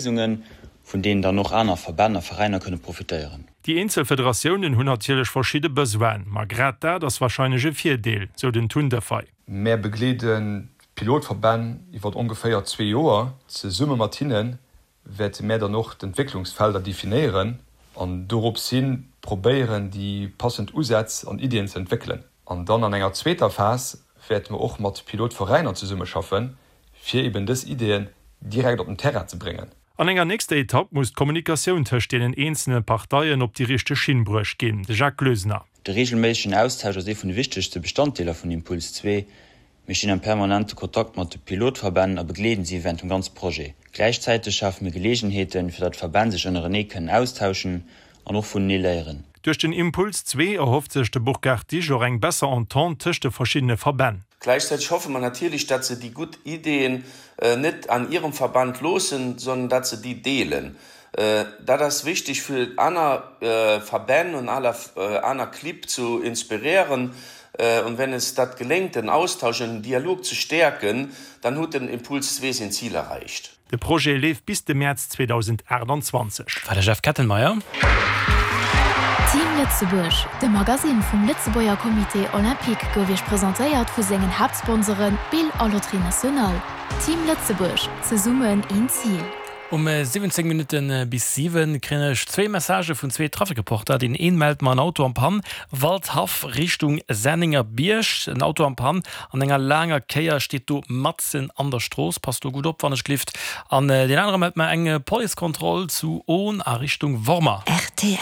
Léisungen, vun deenen dann och aner Verbänn a Veräiner kënne profitéieren. Déi eenzel Federatiounen hunn natierlech verschidde Besoinen, ma grad dat ass warscheinlech e Virdeel, sou den Tun Defay. Mär begleeden d'Pilotverbänn iwwert ongeféier zwee Joer. Zesumme mat hinne wäerte mär dann och d'Entwécklungsfelder definéieren an dorops hi probéieren, déi passend Usätz an Iddien ze entwéckelen. An dann an enger zweeter Phas wäerte mer och mat Pilotveräiner zesummeschaffen, fir eben dës Ideeën direkt op den Terrain ze bréngen. An enger nächster Etapp muss d'Kommunikatioun tëscht deenen eenzele Parteien op déi richteg Schinn bruecht ginn. De Jacques Gloesener. De reegelméissegen Austausch ass ee vun de wichtegste Bestanddeeler vun Impuls 2. Mir stinn am permanente Kontakt mat de Pilotverbänn a begleeden si wärend dem ganze Projet. Gläichzäiteg schafe mir Geleegenheeten, fir datt d'Verbänn sech ënnerenee kënnen austauschen an och vunenee léieren. Duerch den Impuls 2 erhofft sech de Burkhard Disch och eng besser Entente tëscht de verschiddene Verbänn. Gleichzeitig hoffe mer natierlech, datt se déi gutt Ideen net an hirem Verband loossen, sondern datt se déi deelen. Dat ass wichteg fir aner Verbänn und aner Clibb zu inspirieren. Und wenn es dat geléngt, den Austausch und den Dialog ze stäerken, dann huet den Impuls 2 sein Ziel erreicht. De Projet leeft bis de Mäerz 2028. War de Jeff Kettenmeyer. Team Lëtzebuerg, de Magasinn vum Lëtzebuerger Comité Olympique gouf Iech presentéiert vu sengen Haaptsponsoren Bill a Loterie Nationale. Team Lëtzebuerg, zesummen een Zil. Um 17 Minutte bis 7 kréien ech zwéi Messagë vun zwee Trafikreporter. Deen een mellt mer en Auto am Pann, Waldhaff Richtung Sennengerbierg. En Auto am Pann an enger laanger Kéier steet do matzen an der Strooss. Passt do gutt op wann ech glift. An deen anere mellt mer eng Policekontroll zu Ohn a Richtung Wormer. Rtl.